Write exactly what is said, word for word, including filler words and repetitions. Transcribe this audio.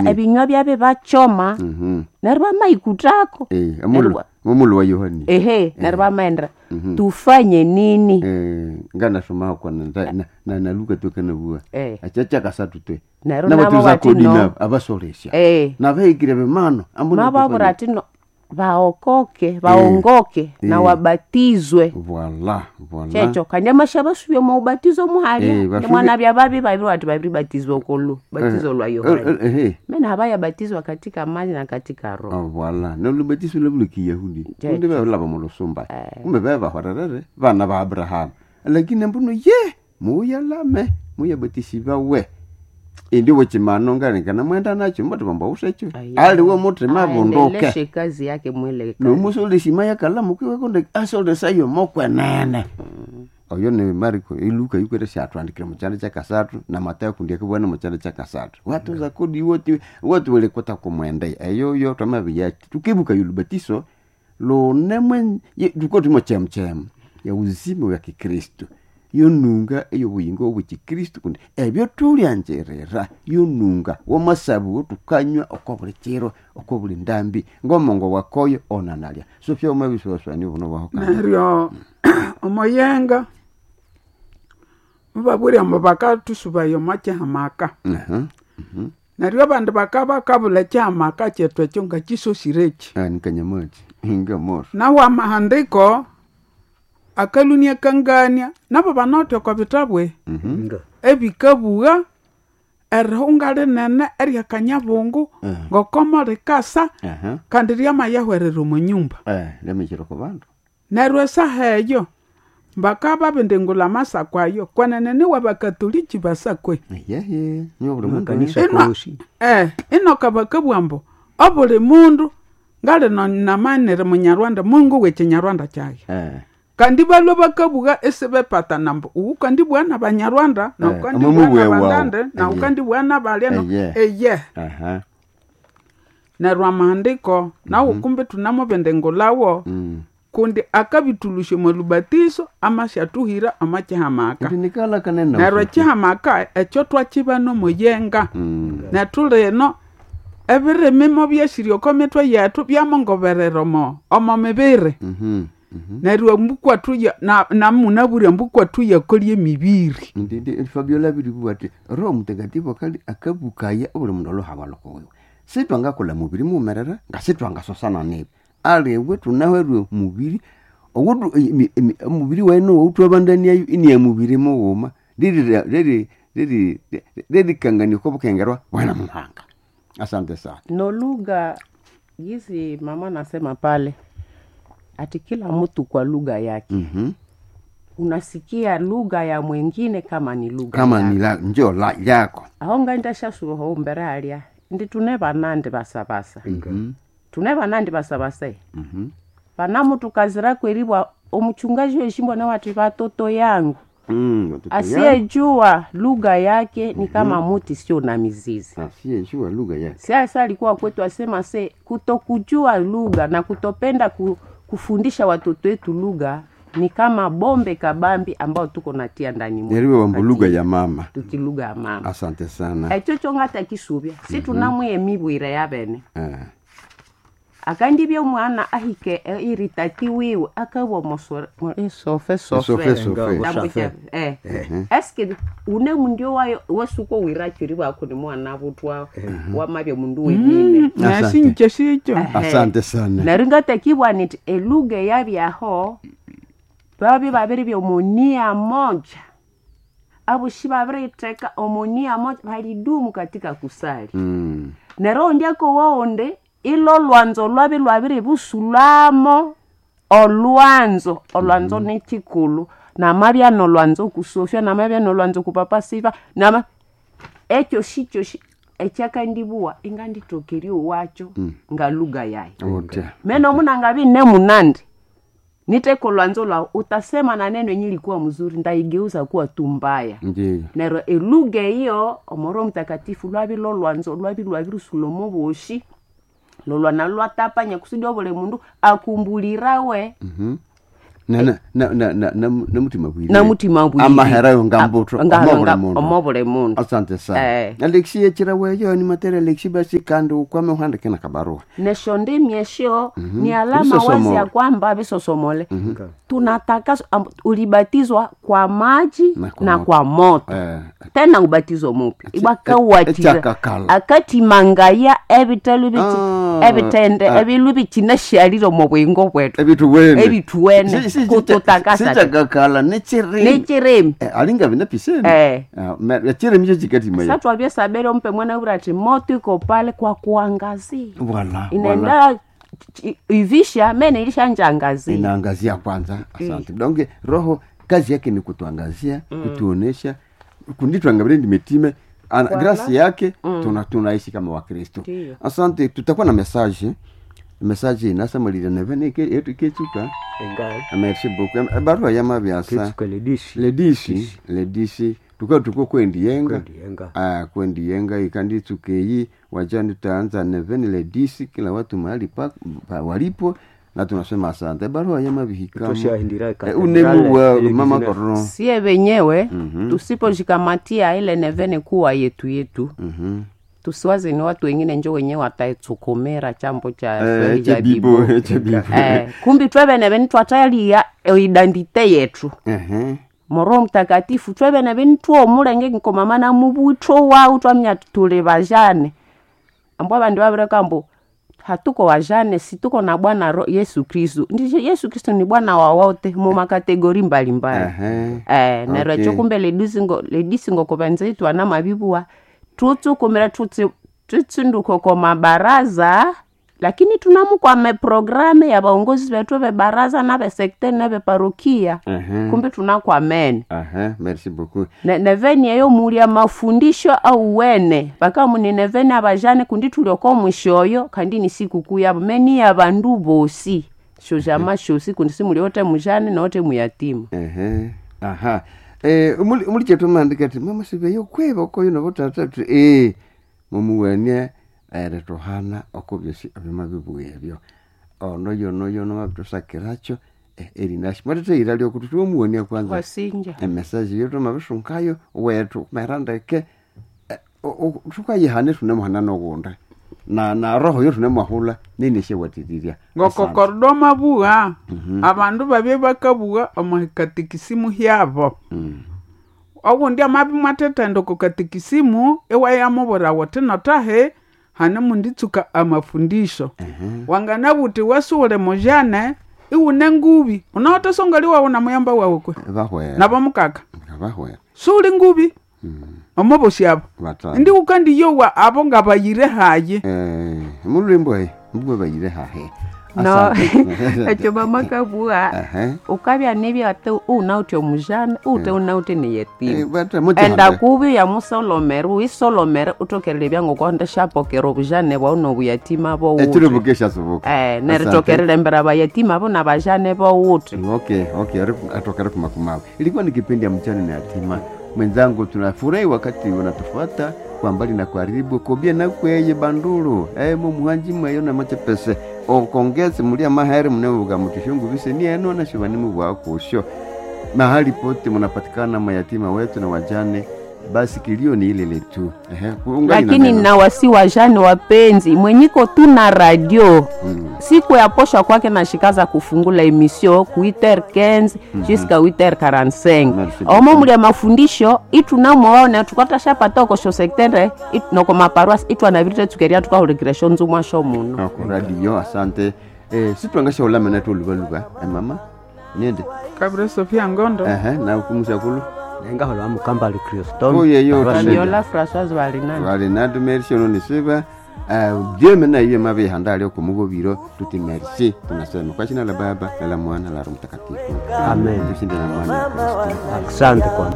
Ebinywa byabe bachoma Mhm. neryo bamaikutako. Eh, omulhu Neryo- omulhu wa Yohani. Ehe, neryo bamaendera tufanye nini? Eh, nganasoma kwana na, na, na, na Luka twekanabua Eh. achacha kasatu twe Neryo nabo nabatuza bati kodi no. nabo abasolesya Eh. nabahikire bimano ambu Mababura ati no baokoke baongoke na Eh. wabatizwe. Voila, voila. Checho kandi amasha basubye mu ubatizo muhalya. Eh, basubye- Mwana bya babi babiri wati babiri batizwa okolu batizo lwa Yohana. Eh, eh, eh. Mena habayabatizwa katika maji na katika roho. Oh, voila nolubatiso lwa kiyahudi Checho. kundi balaba mulusumba kumbe bebahorerere bana ba Abrahamu, lakini mbuno ye muyalame muyabatisibawe indi wechimano ngalekana mwenda nacho mbati bamba usecho aliwe mutima bunduke. Aendeleshe kazi yake mwele kazi. Nomusolesima yakala mukiwe kunde asolesayo mokwenene oyo ni Mariko iluka yukwete syatwandikire mukyanda kyakasathu na Matayo kundi akabwana mukyanda kyakasathu watuza kodi woti woti welekota kumwende eyo yo twamabiya tukibuka yulubatiso lunemwe tukoti mochemuchemu ya uzima wa kikristu yonunga eyobuyingo obwekikristu kundi ebyo tulyanjirira yonunga womasabu tukanywa oko buli kiro oko buli ndambi ngomongo wakoyo onanalya so fyoma biswaswani buno bwaho kandi Neryo omuyenga mubabwire ambu bakathusubaye omo kyihamaka. Aha. Neryo abandi bakabakabulha ekyihamaka kyethu ekyo ngakisosireki. Ah, nikanyamachi ngamoro. Nawu amahandiko akalhunia kangania nabo banawithe oko bitabwe Nga. ebikabugha erihunga rinene eryakanyabungu ngokomo rikasa Aha. kandi ryamayahwerera omo nyumba. Eh, lemechero ko bandu. Neryo esaha eyo bakababindingulha amasako ayo kwenene niwe bakatoliki basakwe. Yehe, niyo buli mundu. Makanisa Ino- kosi. eh, inoka bakabugha ambu obuli mundu ngalino namanire munyarwanda mungu wekinyarwanda kyayi. Eh. Kandi balwe bakabugha isibepatana ambu uwu kandibugha nabanyarwanda Eh, naukandibugha omwe mubwe nabagande wawu. naukandibugha nabalya no- Eye. eye. Aha. Neryo amahandiko nawu kumbi thunamubindingulhawo Mm. kundi akabithulusya omwa lubatiso amasyathuhira omo kihamaka. Ndi nikala kanene. Neryo ekihamaka ekyo twakibana omuyenga. Mm. Nethu lino ebirimi mobyesirya oko mitwe yethu byamongoberera omo omo mibiri. Mhm. Mhm. Neryo embukwathu namunabwire embukwathu yakolya emibiri. Ndi ndi Fabiola biri ati Roho Mtakatifu akali akabukaya obuli mundu olohaba lokowewe. Sitwangakola mubiri mumerera nga sitwangasosana nibi. Aliwe tunahwerwe mubiri owutu omubiri waino owutwabandaniayo ini ya mubiri mughuma liri liri liri lirikangania okobukengerwa bwana muhanga. Asante sana. No lugha gizi mama nasema pale ati kila mtu kwa lugha yake. Mhm. Unasikia lugha ya mwingine kama ni lugha Kama yako. ni la njo la yako. Aho ngaindashasuha umbere halya ndi tune banandi basabasa. Tune banandi basabasa. Mhm. Vanamutukazira kweribwa omuchungaji weshimbwa na wati vatoto yangu Mm, watoto yangu. asiyejua lugha yake ni kama muti sio na mizizi. Asiyejua lugha yake. Sasa alikuwa kwetu asema se kutokujua lugha na kutopenda ku, kufundisha watoto wetu lugha ni kama bombe kabambi ambao tuko natia ndani mwetu. Neriwe wambu lugha ya mama. Tuti lugha ya mama. Asante sana. Ekyo kyongata kisubya si tunamwiye mibwire yabene. Eh. Akandibya omwana ahike eh, iritati wiwe akabwa mosore sofe Sofe sofe. sofe. Nga- Tambucha, eh. Eske une mundu wayo wesuko wirachiri wako ni mwana butwa wamabya mundu wenine. Asante. Nesinje sikyo. Asante sana. Neryo ngatakibwa niti elugha eyabyaho babye babiri byomunia moja aboshi babiritheka omunia moja balidumu katika kusali. Mm. Neryo ondi akowawonde ilo lwanzo lwabi lwabiribusulamo olwanzo olwanzo nekikulu namabya nolwanzo kusofya namabya nolwanzo kupapa siva nama ekyo shikyo shi ekyakandibuwa inganditokerya owacho nga lugha yayi. Otya. Meno munangabi nemunandi niteko lwanzo lwawu utasema na neno yenye ilikuwa mzuri ndaigeuza kuwa tu mbaya. Ndiyo. Neryo elugha eyo omoro mtakatifu lwabi lolwanzo lwabi lwabirusulha omo boshi lolwana lwatapanya kusudi obuli mundu akumbulirawe. Mhm. Na- na- na- na- na- na- namutima bwire namutima bwire amahera ngambuto Nga- nga- omobule mundu asante sana Eh. alexi yechira weyo ni matera alexi basi kandi ukwame uhandike na kabarua nesho ndimi esho ni alama wazi Visosomole. ya kwamba visosomole tunataka am- ulibatizwa kwa maji Na kwa na moto. kwa moto Eh, tena ubatizo mupya ibwakawatira echakakala. akatimangaya ebitelu biti Ah, ebitende ah. ebilu bikinashalire omu bwingo bwetu ebituwene Ebituwene, Si- si- kututakasa. sichakakala nechirimi nekirimi Eh, alinga vina piseni Eh. Ah, me- echirimi cho chikatimaya satwabyesabere ompe mwana wura ati moto iko pale kwa kuangazia Voilà, voilà. inaenda ch- ivisha mene ilishanjangazia Inaangazia kwanza asante donc roho kazi yake ni kutuangazia kutuonesha kunditwangavile ndimetime ana grasi yake tuna tunaishi kama wakristo Ndiyo. asante tutakuwa na message message inasamalira nevene yetu iketsuka enga merci beaucoup Eh, barua yamabyasa ketsuka ledishi ledisi ledisi tuka tuko kwendiyenga Kwendiyenga. ah kwendiyenga ikanditsukeyi wajani tutaanza neveni ledisi kila watu mahali pa, pa walipo na tunasema asante barua yamabihikamo Tushahindira eh, katedrale, unemu wa ile mama kizina- korno sie wenyewe tusiposhikamatia ile nevene kuwa yetu yetu mhm tusiwaze ni watu wengine njo wenyewe wataitsukumira chambo cha eh Swahili cha chebibo bibo chebibo eh, kumbi twevene veni twatalia identite yetu ehe moroho mtakatifu twevene veni twomulenge nkomama na mubutho wau twamnya tuli vajane ambo vandu vavireka mbu hatuko wajane si tuko na bwana Ro- yesu kristu ndicho yesu kristu ni bwana wa wote mu makategori mbalimbali ehe eh neryo Okay. ekyo kumbe ledisingo ledisingo kubanza itwana mabibuwa tutsukumira tutsi tutsinduko ko mabaraza lakini tunamukwame programe ya baongozi bethu bebaraza na besekte na beparokia ehe kumbe tunakwamene ehe merci beaucoup Ne- neveni eyo mulya mafundisho au wene pakamuni neveni abajane kundi tulioko mwishoyo kandi ni sikukuu yabo meni ya bandu bosi shojama shosi kundi simuli ote mujane note muyatima ehe aha eh umuli umuli chetu mandika ati mama sibeyo kweba koyo no botata tu eh mumuwenie ere tohana okubyosi abima bibuye ebyo ono yono yono mabitosakiracho eh, erinashi mwatete ira lyokuti tuwomuwonia kwanza wasinja emesaji yetu mabisunkayo wetu merandeke tukayihane tunemuhana nogunda na na roho yo tunemwahula neneshe-watiriria ngokokordo mabuha abandu babye bakabuha omu katikisimu hyabo ogundi amabi mwathethaenda oko katikisimu iwayamubwira wuthi notahe hane munditsuka amafundisho wanganabuthi wasuwule mujane iwune ngubi unawathe songali wawu na muyamba wawu kwe bahwera nabomukaka bahwera suuli ngubi omobosi abo batano ndi ukandiyowa abo ngabayire hayi Eh, mulwimbo he mbwe bayire hahe no Asante. ekyo mama kabua Ehe. ukabya nibya ate unawuthe omujana ute unawuthe Eh, neyatima bata muti enda hande. kubi yamusolomere uisolomere utokerele byangokonde shapokera obujane bwawu nobuyatima Ekiro bowuthe bukesha subuka eh neritokerele mbera bayatima bo nabajane bowuthe Okay, okay, atokere kumakumawe. Ilikuwa ni kipindi ya mchana na yatima. Mwenzangu, tunafurahi wakati unatufuata kwa mbali na karibu kobia na kweye bandulu eh mu muhanji mweyo na machepese okongeze mulia mahere mnevuga mutishungu vise ni eno na shivani mubwakusho mahali pote mnapatikana mayatima wetu na wajane basi kilio ni ile ile tu. Ehe, ungali na lakini neno. na wasi wajane wapenzi mwenyiko tuna radio Mm. siku ya posha kwake nashikaza kufungula emission ku huit heures quinze jusqu'à huit heures quarante-cinq Merci omo beaucoup. mulya mafundisho itunamoona tukatashapata okosho sectere noko maparoasi itwanavirite tsukeria tukahulikira shonzumwa sho muno Ako radio asante. Eh, sitwangasha ulama na lubaluba. Eh, mama. Niende. kabire sofia ngondo Ehe, na kumusha kulu. nengahola mukambali kristomu Oye, yo, Fabiola Françoise Valinani valinatu merci ononisiva uh, Dieu mena iye mabe handali okumugobiro tuti merci tunasema kwa jina la Baba na la Mwana na la Roho Mtakatifu. Amen. Tushinde na amani ya Kristo. asante kwa